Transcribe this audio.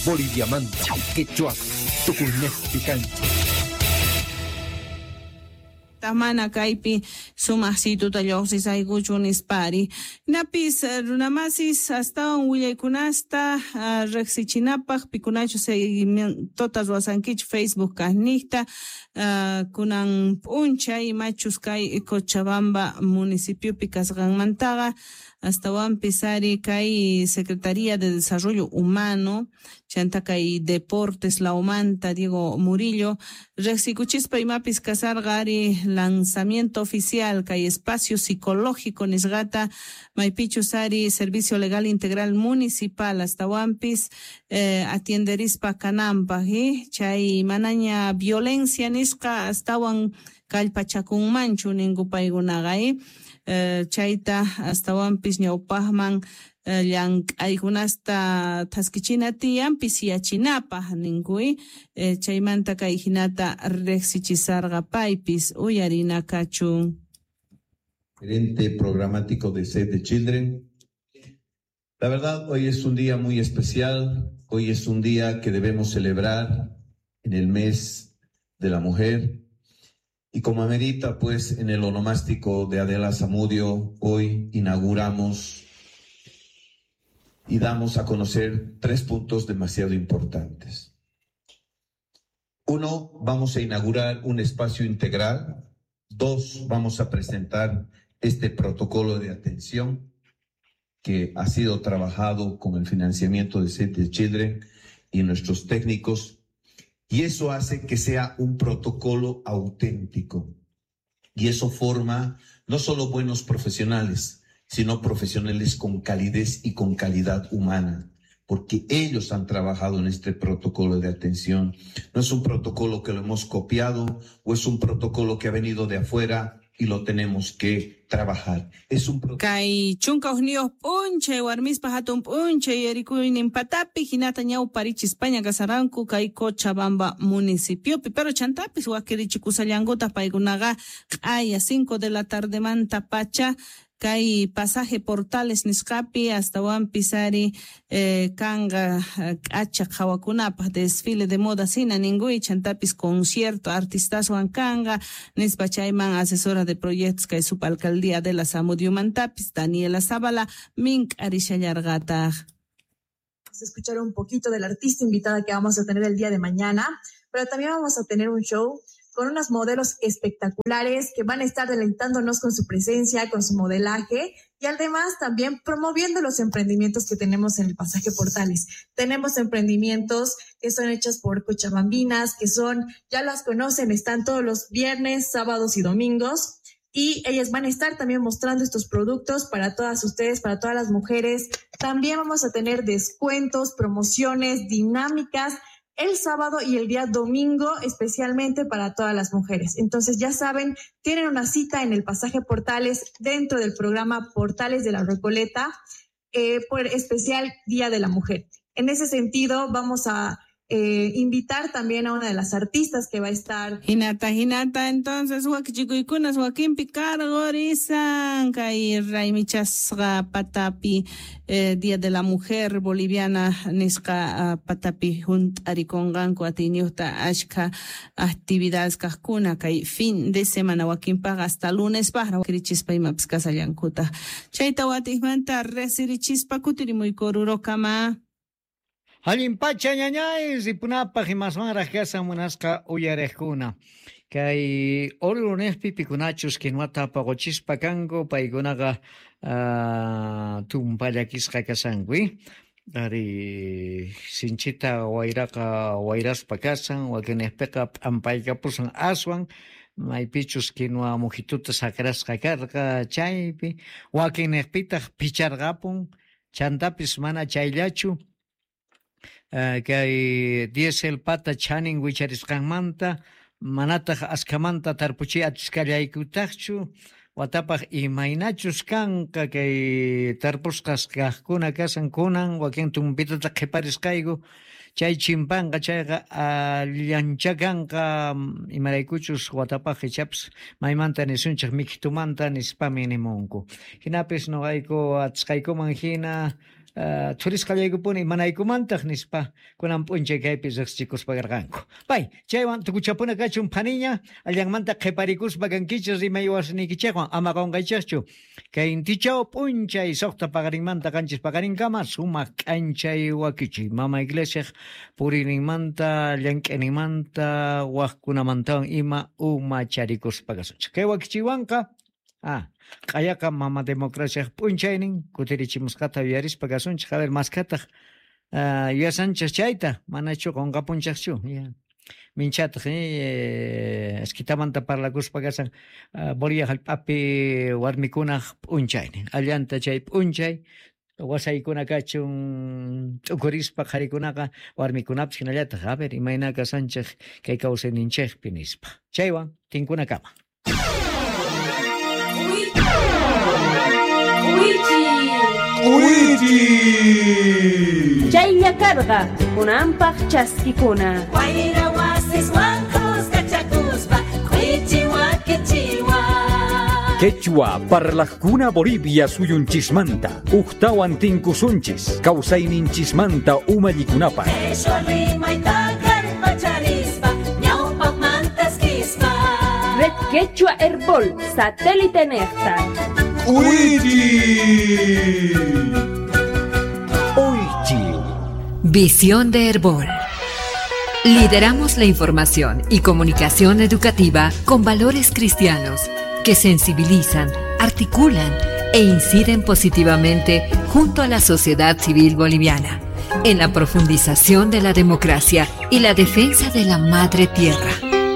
Boliviamanta, quechua, tukuynejpi kanchis. Mana kaypi sumaqsituta lluqsisaykuchu nispari. Napis runamasis astawan willaykunasta riqsichinapaq pikunachu seguimientota ruwasankichu Facebook kaqniqta kunan p'unchay machus kay Cochabamba municipiopi kasqanmantaqa astawanpis ari kay Secretaría de Desarrollo Humano chanta kay Deportes Laumanta Diego Murillo riqsikuchispa imapis kasarqa ari lanzamiento oficial kay espacio psicológico nisqata maypichus ari Servicio Legal Integral Municipal astawanpis atienderispa kananpaq chay manaña violencia nisqa astawan kallpachakunmanchu ninku paykunaqa chayta astawanpis ñawpaqman llank'aykunasta thaskichina tiyan pisiyachinapaq ninkuy chaymanta kay hinata riqsichisarqa paypis uyarina kachun. Gerente programático de Save the Children. La verdad, hoy es un día muy especial, hoy es un día que debemos celebrar en el mes de la mujer. Y como amerita, pues, en el onomástico de Adela Zamudio, hoy inauguramos y damos a conocer 3 puntos demasiado importantes. 1, vamos a inaugurar un espacio integral. 2, vamos a presentar este protocolo de atención que ha sido trabajado con el financiamiento de Save the Children y nuestros técnicos. Y eso hace que sea un protocolo auténtico. Y eso forma no solo buenos profesionales, sino profesionales con calidez y con calidad humana, porque ellos han trabajado en este protocolo de atención. No es un protocolo que lo hemos copiado o es un protocolo que ha venido de afuera y lo tenemos que trabajar. Es un Kay chunka hukniyuq p'unchay warmispa hatun p'unchay yarikuynin patapi hinata ñawparichi España kasaranku kay Cochabamba municipiopi, pero chantapis wakirichikusallankutaq paykunaqa q'aya 5 de la tardemanta pacha kay pasaje Portales nisqapi astawanpis ari kanqa k'acha qhawakunapaq desfile de moda hina ninkuy chantapis concierto artistaswan kanqa nispa chayman asesora de proyectos kay subalcaldía de la Zamudiomantapis Daniela Zavala mink'arishallarqataq. Vamos a escuchar un poquito del artista invitada que vamos a tener el día de mañana, pero también vamos a tener un show con unas modelos espectaculares que van a estar deleitándonos con su presencia, con su modelaje y además también promoviendo los emprendimientos que tenemos en el Pasaje Portales. Tenemos emprendimientos que son hechos por cochabambinas, que son, ya las conocen, están todos los viernes, sábados y domingos. Y ellas van a estar también mostrando estos productos para todas ustedes, para todas las mujeres. También vamos a tener descuentos, promociones, dinámicas el sábado y el día domingo, especialmente para todas las mujeres. Entonces, ya saben, tienen una cita en el Pasaje Portales dentro del programa Portales de la Recoleta por especial Día de la Mujer. En ese sentido, vamos a invitar también a una de las artistas que va a estar. Hinata, hinata, entonces, wakichikuykunas, wakinpi karqurisan, kay raymichasqa patapi, Día de la Mujer Boliviana nisqa patapi hunt'arikunqanku atiyniyuqta ashkha actividades kaqkuna kay fin de semana wakinpaqa hasta lunes paqra wakrichispa imapis kasallankuta. Chayta watiqmanta riqsirichispa kutirimuyku Orurokama. Allin pacha ñañay ripunapaq imaswanraq kasan munasqa uyariqkuna. Kay Oruro niqpi pikunachus kinuata paquchispa kanku paykunaqa tumpallakisqa kasanku. Ari sinchita wayraqa wayraspa kasan wakinniqpiqa p'ampaykapusan aswan maypichus quinua mujituta sakrasqa karqa chaypi wakinniqpitaq picharqapun chantapis mana chayllachu. Kay diesel pata chanin wicharisqanmanta manataq askhamanta tarpuchiy atisqallaykutaqchu watapaq imaynachus kanqa kay tarpusqas kaqkuna kasan kunan wakin tumpitata qhiparisqayku chay chimpanqa chayqa allancha kanqa imaraykuchus watapaq ichapis maymanta nisunchik mikitumanta nispami nimunku hinapis nuqayku atisqaykuman hina. Thurisqallaykupuni imanaykumantaq nispa kunan p'unchay kaypi riqsichikuspa karqanku. Pay, chaywan tukuchapuna kachun phaniña, allanmanta qhiparikuspa kankichis rimay wasniykichikwan, ama qunqaychikchu. Kay intichaw p'unchay 6 paqarinmanta 7 paqarinkama sumaq k'anchay wakichiy mama iglesiaq puriyninmanta, llank'ayninmanta, wajkunamantawan ima umacharikuspa kasunchik. Kay wakichiywanqa q'ayaqa mama democraciaq p'unchaynin kutirichimusqata yuyarispa kasunchik. A ver, maskataq yuyasanchik chayta, manachu qunqapunchikchu. Minchataq esquitamanta parlakuspa kasan Bolivia hallp'api warmikunaq p'unchaynin. Allanta chay p'unchay wasaykuna kachun t'ukurispa qharikunaqa warmikunapis hinallataq, a ver, imayna kasanchik kay kawsayninchikpi nispa. Chaywan tinkunakama. Chaylla karqa kunanpaq chaskikuna. Wayra wasiswan kuskachakuspa k'uichi wakichiwa. Quechua parlajkuna Bolivia suyunchismanta ujtawan tinkusunchis kawsayninchismanta umallikunapaq. Quechua rimayta kallpacharispa ñawpaqmantaskispa. Red Quechua Herbol satélite nejta. ¡Uichi! Uichi. Visión de Herbol. Lideramos la información y comunicación educativa con valores cristianos que sensibilizan, articulan e inciden positivamente junto a la sociedad civil boliviana en la profundización de la democracia y la defensa de la madre tierra.